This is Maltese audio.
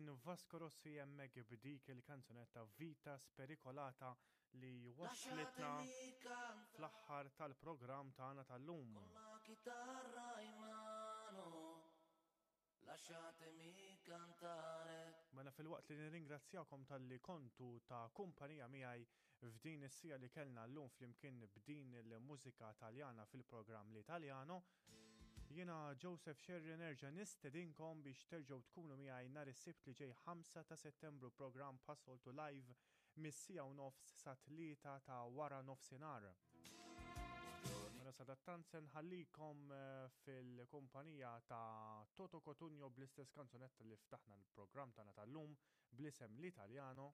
Kien Vasco Rossi hemmhekk b'dik il-kanzunetta Vita Spericolata li waslitna fl-aħħar tal-programm tagħna tal-lum. Lasciatemi cantare. Mela filwaqt li nirringrazzjakom talli kontu ta' kumpanija miegħi f'din is-siegħa li kellna llum flimkien b'din il-mużika Taljana fil-programm L'Italiano, jiena Joseph Scerri nerġa' nistedinkom biex terġgħu tkunu miegħi nhar is-Sibt li ġej 5 ta' Settembru programm bħas-soltu live mis-siegħa u nofs sat-tlieta ta' wara nofsinhar. Mela sadattant se nħallikom eh, fil-kumpanija ta' Toto Cotugno bl-istess kanzunetta li ftaħna l-programm tagħna tal-lum bl-isem L'Italiano.